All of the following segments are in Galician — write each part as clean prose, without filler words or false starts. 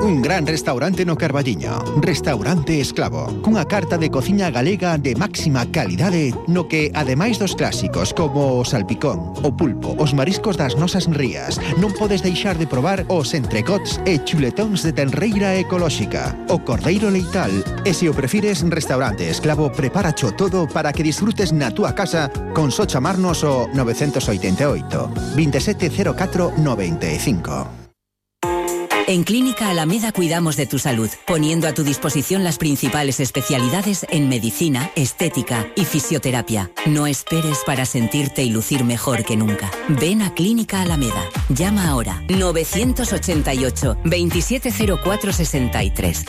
Un gran restaurante no Carballiño. Restaurante Esclavo. Cunha carta de cociña galega de máxima calidade no que, ademais dos clásicos como o salpicón, o pulpo, os mariscos das nosas rías, non podes deixar de probar os entrecots e chuletóns de tenreira ecolóxica, o cordeiro leital. E se o prefires, Restaurante Esclavo preparacho todo para que disfrutes na túa casa con só chamarnos o 988 2704 95. En Clínica Alameda cuidamos de tu salud, poniendo a tu disposición las principales especialidades en medicina, estética y fisioterapia. No esperes para sentirte y lucir mejor que nunca. Ven a Clínica Alameda. Llama ahora 988 2704 63.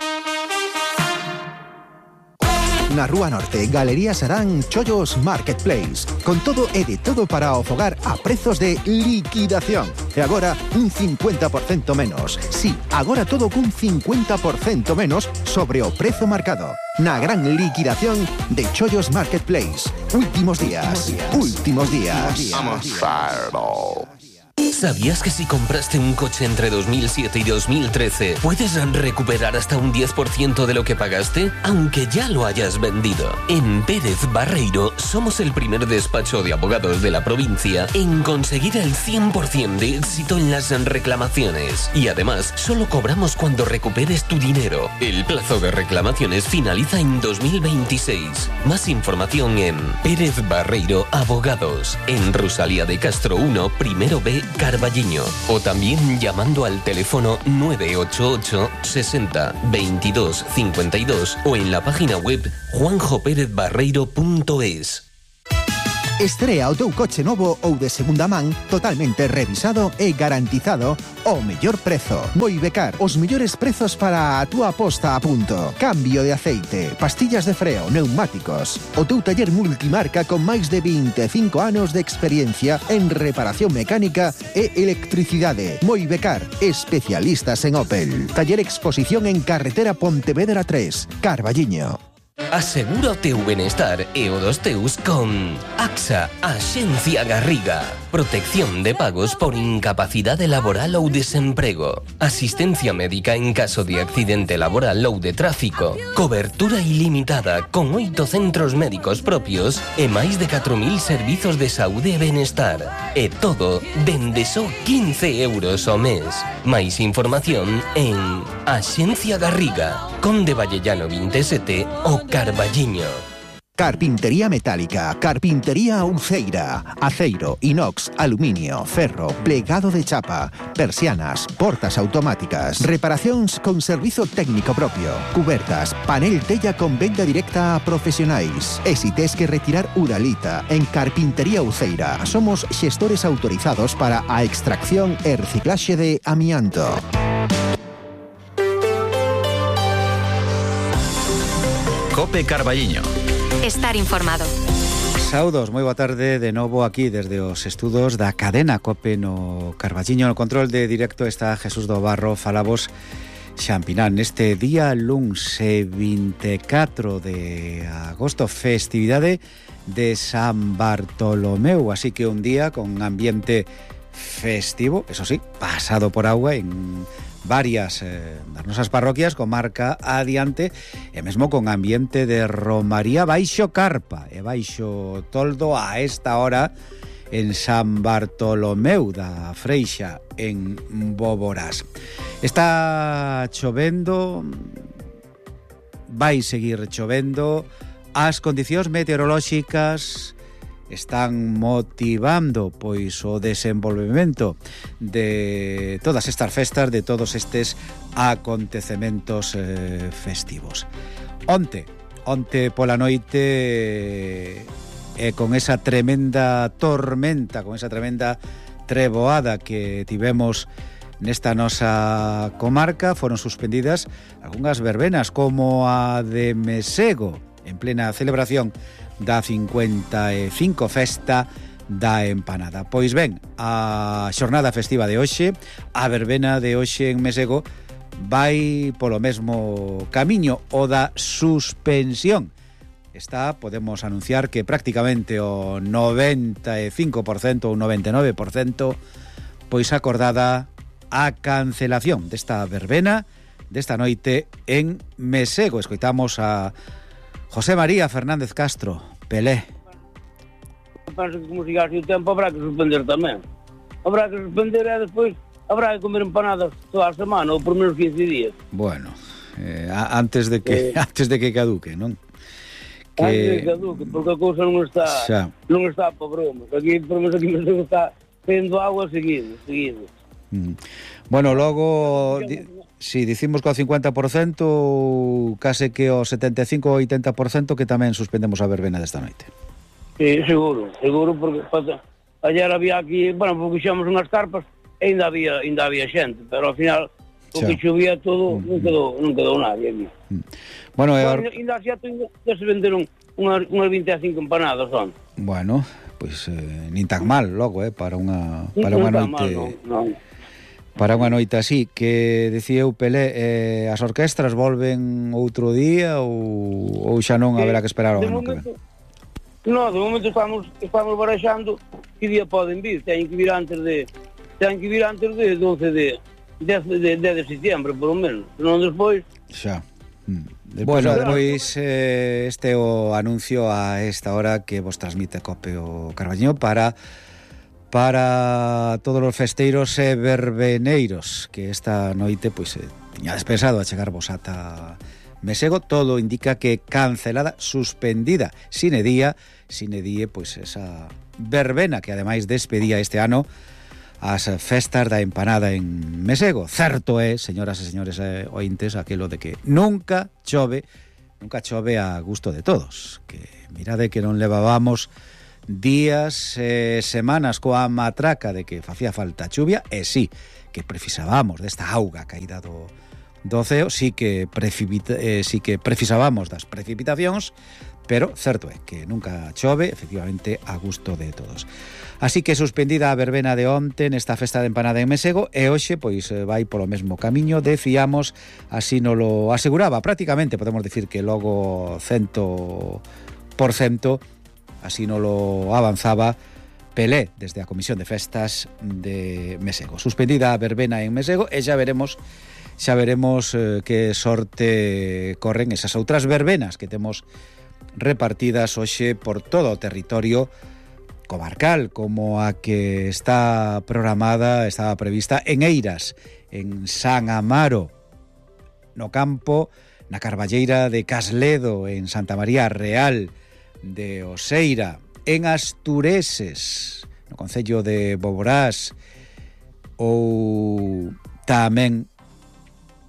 Na Rúa Norte, Galería Sarán, Chollos Marketplace. Con todo e de todo para o fogar a prezos de liquidación. E agora, un 50% menos. Sí, agora todo cun 50% menos sobre o prezo marcado. Na gran liquidación de Chollos Marketplace. Últimos días. Vamos, Fireball. ¿Sabías que si compraste un coche entre 2007 y 2013 puedes recuperar hasta un 10% de lo que pagaste, aunque ya lo hayas vendido? En Pérez Barreiro somos el primer despacho de abogados de la provincia en conseguir el 100% de éxito en las reclamaciones. Y además, solo cobramos cuando recuperes tu dinero. El plazo de reclamaciones finaliza en 2026. Más información en Pérez Barreiro Abogados, en Rosalía de Castro 1, primero B, Carballiño, o también llamando al teléfono 988 60 22 52 o en la página web juanjoperezbarreiro.es. Estrea o teu coche novo ou de segunda man totalmente revisado e garantizado ao mellor prezo. Moibecar, os mellores prezos para a túa posta a punto. Cambio de aceite, pastillas de freo, neumáticos. O teu taller multimarca con máis de 25 anos de experiencia en reparación mecánica e electricidade. Moibecar, especialistas en Opel. Taller Exposición en Carretera Pontevedra 3, Carballiño. Asegura o teu benestar e o dos teus con AXA, Axencia Garriga. Protección de pagos por incapacidade laboral ou desemprego. Asistencia médica en caso de accidente laboral ou de tráfico. Cobertura ilimitada con 8 centros médicos propios e máis de 4.000 servizos de saúde e benestar. E todo dende só 15 euros ao mes. Máis información en Axencia Garriga, Conde Vallellano 27 o Carballiño. Carpintería metálica, carpintería Uceira, aceiro, inox, aluminio, ferro, plegado de chapa, persianas, portas automáticas, reparacións con servizo técnico propio, cubertas, panel tella con venda directa a profesionais. E si tes que retirar uralita, en Carpintería Uceira somos xestores autorizados para a extracción e reciclaxe de amianto. Cope Carballiño. Estar informado. Saudos, moi boa tarde de novo aquí desde os estudos da cadena Cope no Carballiño. No control de directo está Jesús do Barro, falabos Xampinán. Neste día luns 24 de agosto, festividade de San Bartolomeu, así que un día con ambiente festivo, eso sí, pasado por agua en varias das nosas parroquias, comarca adiante, e mesmo con ambiente de romaría baixo carpa e baixo toldo a esta hora en San Bartolomeu da Freixa, en Boborás. Está chovendo, vai seguir chovendo, as condicións meteorolóxicas están motivando pois o desenvolvemento de todas estas festas, de todos estes acontecementos festivos. Onte pola noite con esa tremenda tormenta, con esa tremenda treboada que tivemos nesta nosa comarca, foron suspendidas algunhas verbenas como a de Mesego, en plena celebración da 55 festa da empanada. Pois ben, a xornada festiva de hoxe, a verbena de hoxe en Mesego, vai polo mesmo camiño, o da suspensión. Está, podemos anunciar que prácticamente o 95% ou 99% pois acordada a cancelación desta verbena desta noite en Mesego. Escoitamos a José María Fernández Castro, Pelé. Penso que como sigase o tempo habrá que suspender tamén. Habrá que suspender e despois habrá que comer empanadas toda a semana ou por menos 15 días. Bueno, antes de que caduque, non? Antes de que caduque, porque a cousa non está para bromas. Aquí, por menos aquí mesmo está tendo agua seguido. Bueno, logo si dicimos que ao 50%, case que ao 75 ou 80% que tamén suspendemos a verbena desta noite. Sí, seguro, porque ayer había aquí, bueno, porque xamos unhas carpas e ainda había xente, pero ao final o que chovía todo non quedou nadie aquí. Bueno, ainda se venderon unhas 25 empanadas son. Bueno, pois nin tan mal logo, para unha noite. Non. Para unha noite así, que dicía eu, Pelé, as orquestras volven outro día ou xa non haberá que esperar ao ano que ven? No, de momento estamos baraxando que día poden vir. Teñen que vir antes de 12 de setembro, por lo menos. Senón despois... Xa. Bueno, despois este é o anuncio a esta hora que vos transmite Cope o Carballiño para todos os festeiros e verbeneiros que esta noite pois tiñades pensado a chegarvos ata Mesego. Todo indica que cancelada, suspendida sine die, pois esa verbena que ademais despedía este ano as festas da empanada en Mesego. Certo é, señoras e señores ointes, aquilo de que nunca chove a gusto de todos. Que mirade que non levábamos días e semanas coa matraca de que facía falta chuvia, e sí, que precisábamos desta auga caída do ceo, sí que precisábamos das precipitacións, pero certo é que nunca chove, efectivamente, a gusto de todos. Así que suspendida a verbena de onte nesta festa de empanada en Mesego, e hoxe pois vai polo mesmo camiño, decíamos, así nos lo aseguraba prácticamente, podemos decir que logo 100%, así nos lo avanzaba Pelé desde a Comisión de Festas de Mesego. Suspendida a verbena en Mesego, e xa veremos que sorte corren esas outras verbenas que temos repartidas hoxe por todo o territorio comarcal, como a que estaba prevista en Eiras, en San Amaro, no campo, na Carballeira de Casledo, en Santa María Real de Oseira, en Astureses, no concello de Boborás, ou tamén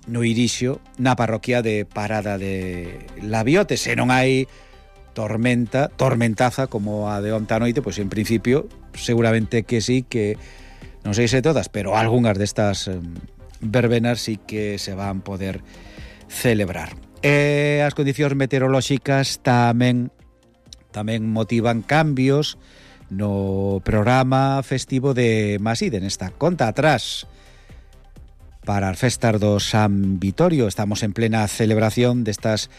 no Irixo, na parroquia de Parada de Labiote. Se non hai tormentaza como a de onta noite, pois en principio seguramente que sí, que non sei se todas, pero algunhas destas verbenas sí que se van poder celebrar. E as condicións meteorolóxicas tamén motivan cambios no programa festivo de Maside, nesta conta atrás para as festas do San Vitorio. Estamos en plena celebración destas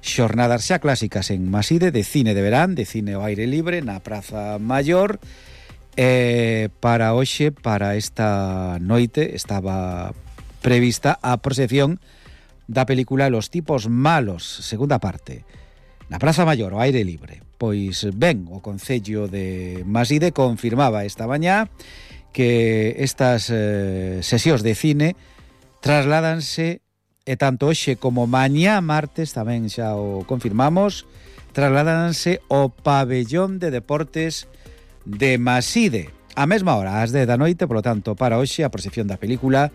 xornadas xa clásicas en Maside, de cine de verán, de cine ao aire libre na Praza Maior. Para hoxe, para esta noite, estaba prevista a proxección da película Los tipos malos, segunda parte, na Praza Maior, ao aire libre. Pois ben, o Concello de Maside confirmaba esta mañá que estas sesións de cine trasládanse, e tanto hoxe como mañá martes, tamén xa o confirmamos, trasládanse ao pabellón de deportes de Maside a mesma hora, ás 10 da noite. Por lo tanto, para hoxe a proxección da película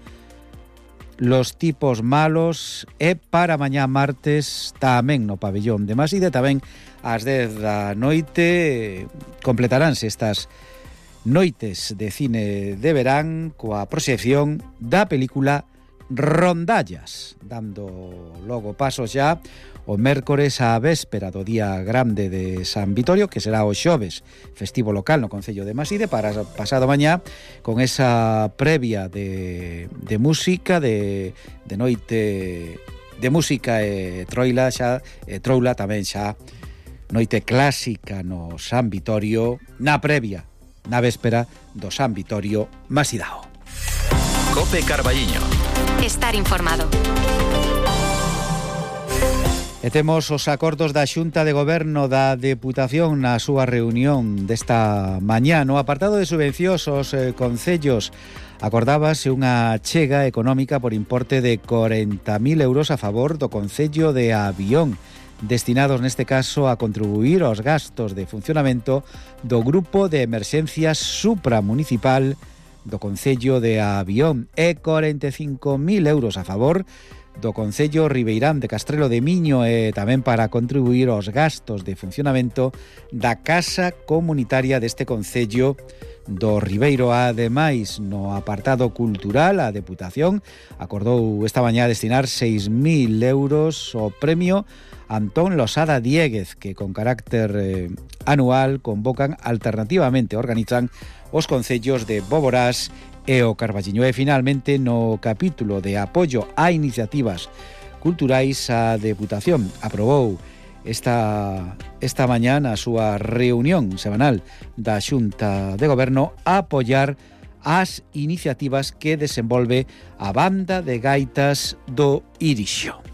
Los tipos malos, e para mañá martes tamén no pabellón de Maside, tamén ás 10 da noite completaránse estas noites de cine de verán coa proxección da película Rondallas, dando logo paso xa o mércores á véspera do día grande de San Vitorio, que será o xoves, festivo local no concello de Maside, para pasado mañá con esa previa de música, de noite de música e troula tamén xa noite clásica no San Vitorio, na previa, na véspera do San Vitorio Masidao. Cope Carballiño. Está estar informado. E temos os acordos da Xunta de Goberno da Deputación na súa reunión desta mañá. No apartado de subvencións aos concellos acordábase unha chega económica por importe de 40.000 euros a favor do Concello de Avión, destinados neste caso a contribuir aos gastos de funcionamento do Grupo de Emerxencias Supramunicipal do Concello de Avión e 45.000 euros a favor do Concello Ribeirán de Castrelo de Miño e tamén para contribuir aos gastos de funcionamento da Casa Comunitaria deste Concello do Ribeiro. Ademais, no apartado cultural, a Deputación acordou esta mañá destinar 6.000 euros ao premio Antón Losada Diéguez, que con carácter anual convocan alternativamente, organizan os concellos de Boborás e o Carballiño. E finalmente, no capítulo de apoio a iniciativas culturais, a Deputación aprobou esta mañá na súa reunión semanal da Xunta de Goberno a apoiar as iniciativas que desenvolve a Banda de Gaitas do Irixo.